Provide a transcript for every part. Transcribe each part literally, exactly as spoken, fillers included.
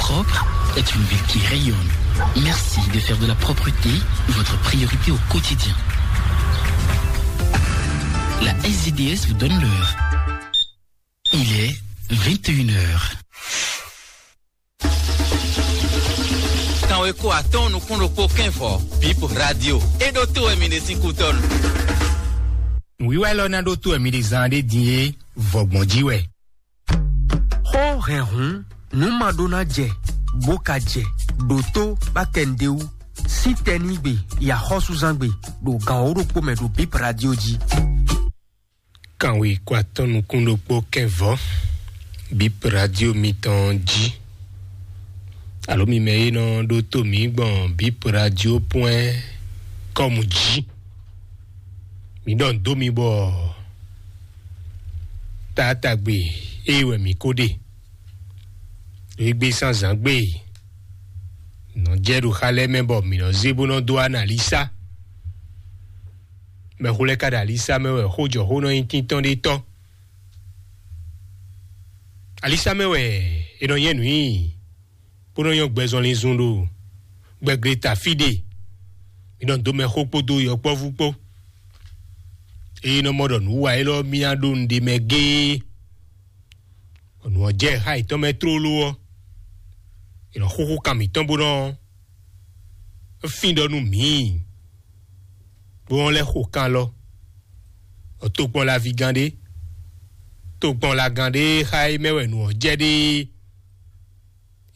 Propre est une ville qui rayonne. Merci de faire de la propreté votre priorité au quotidien. La S D D S vous donne l'heure. Il est vingt et une heures. Kan we ko atɔn nukun ɖokpó kɛnvɔ, Bip Radio. E ɖo to wɛ mi ɖe sín kutɔnu. Nǔwiwa élɔ́ ná ɖó tó wɛ mi ɖe zán ɖé din é, vɔgbɔn jí wɛ. Xó hɛn hǔn, nǔ ma ɖó ná jɛ, bó ka jɛ, ɖo tó bá kɛ nǔɖé wú, sín tɛnígbe, yi axɔ́súzángbe, ɖo gan wǒ ɖokpó mɛ ɖo Bip Radio jí. Kan we ko atɔn nukun ɖokpó kɛnvɔ, Bip Radio mitɔn jí. Alo mi mɛ e nɔ ɖó tó mǐ gbɔn Bip Radio point com jí. Mǐ ɖɔ nǔ dó mi bɔ taatagbe ée wɛ mǐ ko ɖe. Égbé sán zǎn gbe, nɔ jɛ ɖo xa lɛ́ɛ mɛ bɔ mǐ nɔ zé bó nɔ dó analisa. Mɛxó lɛ́ɛ ka ɖo alisa mɛ wɛ xó jɔ xó nɔ nyí tíntɔ́n ɖé tɔ́. Alisa mɛ wɛ è nɔ nyɛ nǔ nyi, bó nɔ nyɔ́ gbɛzɔnlin zun ɖo gbɛgleta fí ɖe. Mi nɔ dó mɛxó kpódó yɔkpɔ́vú kpó. Eye nɔ mɔ ɖɔ nǔ wa élɔ́ mì ná ɖó nǔɖé mɛ géé. Nǔ ɔ́ jɛ xá yětɔn mɛ tlóló ɔ́, è nɔ xúxú kan mǐtɔn bó nɔ fín ɖɔ nú mǐ, bó nɔ lɛ́ xo kan lɔ. Tokpɔn laví gán ɖé, tokpɔn lagán ɖé xá é mɛ wɛ nǔ ɔ́ jɛ ɖe.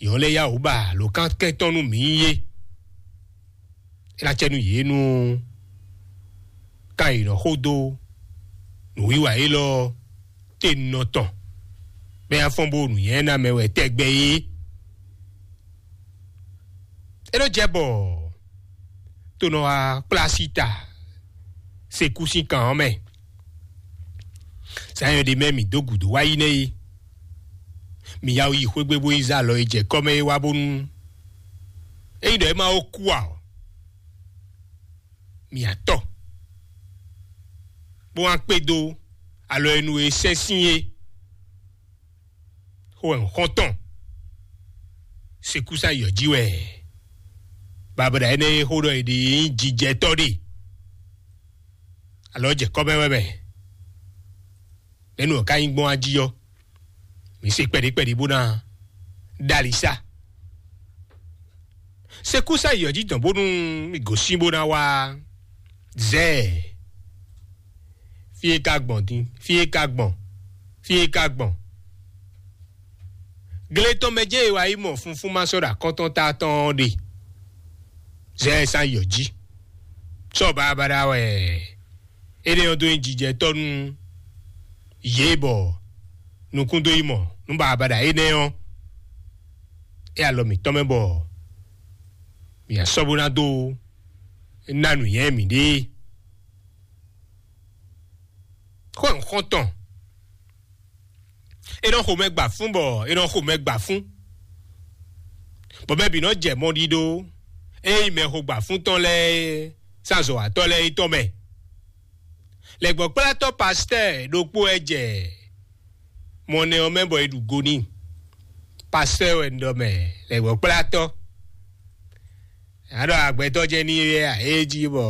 Yě ɔ́ lɛ́ yá wǔ ba lǒ kan kɛntɔn nú mǐ é. É ná cɛ nú yě nú kan e nɔ xo dó nǔwiwa élɔ́ te nɔ tɔn, bɔ é ná fɔ́n bó nǔnywɛ́ ná mɛ wɛ tɛgbɛ é. É nɔ jɛ bɔ to nɔ wá kplá sí ta sekú sín kan ɔ́ mɛ. Zǎn e ɖe mɛ mǐ dó gǔdo wá yi nɛ́ é. Mǐ ya yi xwé gbe bó yi zé alɔ e jɛ kɔ́ mɛ é wá bónú ényí ɖɔ é ma ó kú ǎ ɔ́, mǐ ya tɔ, bó wá kpé dó alɔ e nu e sɛ́n sín é. Xó wɛ un xɔ́n tɔn. Sekúsa yɔ jí wɛ. Babɔda énɛ́ e xó ɖɔ è ɖe nyí jijɛtɔ́ ɖe. Alɔ jɛ kɔ́ mɛ wɛ mɛ. Nɛ̌ nu ɔ́ ka nyí gbɔn ají ɔ́? Mǐ se kpɛɖí kpɛɖí bó ná ɖó ali sá. Sekúsa yi ɔ́ jí dɔn bónú mì gosín bó ná wá zɛɛ. Fí e ka gbɔn din, fí e ka gbɔn, fí e ka gbɔn. Gle tɔn mɛ jɛ́n è wá yi mɔ funfún ma sɔ́ ɖo akɔ́ntɔ́ ta tɔn ɔ́ ɖe. Zɛɛ sán yi ɔ́ jí. Sɔ́ baɖabaɖa wɛ énɛ́ ɔ́ dó nyí jijɛtɔ́ nú yě bɔ nukún dó yi mɔ nú baɖabaɖa énɛ́ ɔ́, é alɔ mǐtɔn mɛ bɔ mǐ asɔ́ bó ná dó ná nǔnywɛ́ mǐɖée. Xó e un xɔ́n tɔn, é nɔ xo mɛ gba fún bɔ é nɔ xo mɛ gba fún, bɔ mɛ bǐ nɔ jɛ mɔ ɖiɖó é nyí mɛ xo gba fún tɔn lɛ́ɛ sín azɔ̌watɔ́ lɛ́ɛ é tɔn mɛ. Lɛ̌gbɔ́kplátɔ́ pastɛ́ɛ ɖokpó wɛ jɛ mɔ nɛ ɔ́ mɛ bɔ è ɖu go n'i. Pastɛ́ɛ wɛ un ɖɔ mɛ, lɛ̌gbɔ́kplátɔ́. A ɖɔ agbɛtɔ́ jɛ́n ní é wɛ a? É jí bɔ